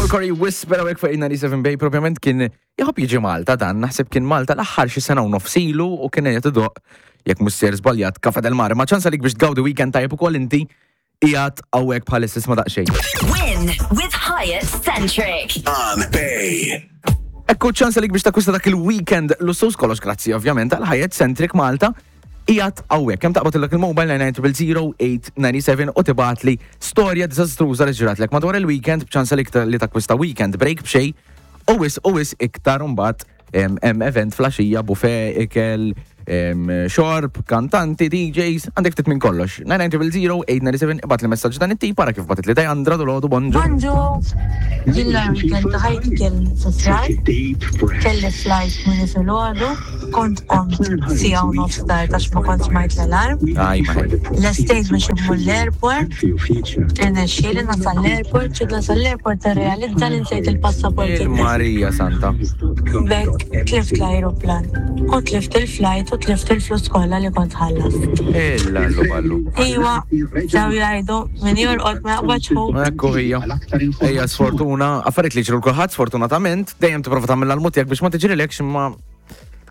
Joel Corey Whisper hawnhekk fuq 97 Bay propjament kien jħobb jiġi Malta dan, naħseb kien Malta l-aħħar xi sena u nofsilu u kien qed idoq jekk mhux ser żbaljat Cafe del Mare. Ma ċans għalik biex tgawdi weekend tajjeb ukoll inti qiegħed hawnhekk bħalissa isma' daqsxejn. Win with Hyatt Centric. On Bay. Ekku ċans għalik biex takkwista dak il-weekend lussus kollox grazzi ovvjament għal Hyatt Centric Malta qiegħed hawnhekk. Kemm taqbad illek il-mobile 9900897 u tibgħatli storja diżastruża li ġratlek madwar il-weekend b'ċans għalik li takkwista weekend break b'xejn u wis u wis iktar mbagħad hemm event flaxija, buffet, ikel, xorb, kantanti, DJs, għandek ftit minn kollox. 9900897 ibgħat li messaġġ dan it-tip ara kif bagħtet li Dajandra dolodu bonġu. Bonġu! Jien l-weekend ta' ħajti kien fi frar, kelli flight minn filgħodu, kont qomt siegħa u nofs tard għax ma kontx smajt l-alarm. Aj, ma ħej. Lestejt biex immur l-airport, irnexxieli nasal l-airport, ġiet nasal l-airport nirrealizza li nsejt il-passaport. Il-Marija Santa. B'hekk tlift l-ajruplan u tlift il-flight u tlift il-flus kollha li kont ħallast. Illallu ballu. Iwa, sew jgħidu, min jorqod ma jaqbadx ħu. Ekku hija. Ejja sfortuna, affarijiet li ġru l-kulħadd sfortunatament, dejjem tipprova tagħmel l-almu tiegħek biex ma tiġrilekx imma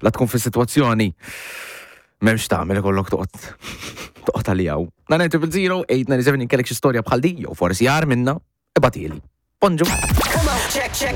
la tkun fi sitwazzjoni m'hemmx tagħmel ikollok toqgħod toqgħod għalijaw. 990 897 inkellek xi storja bħal di jew forsi jar minna, ibatieli. Bonġu. Check, check.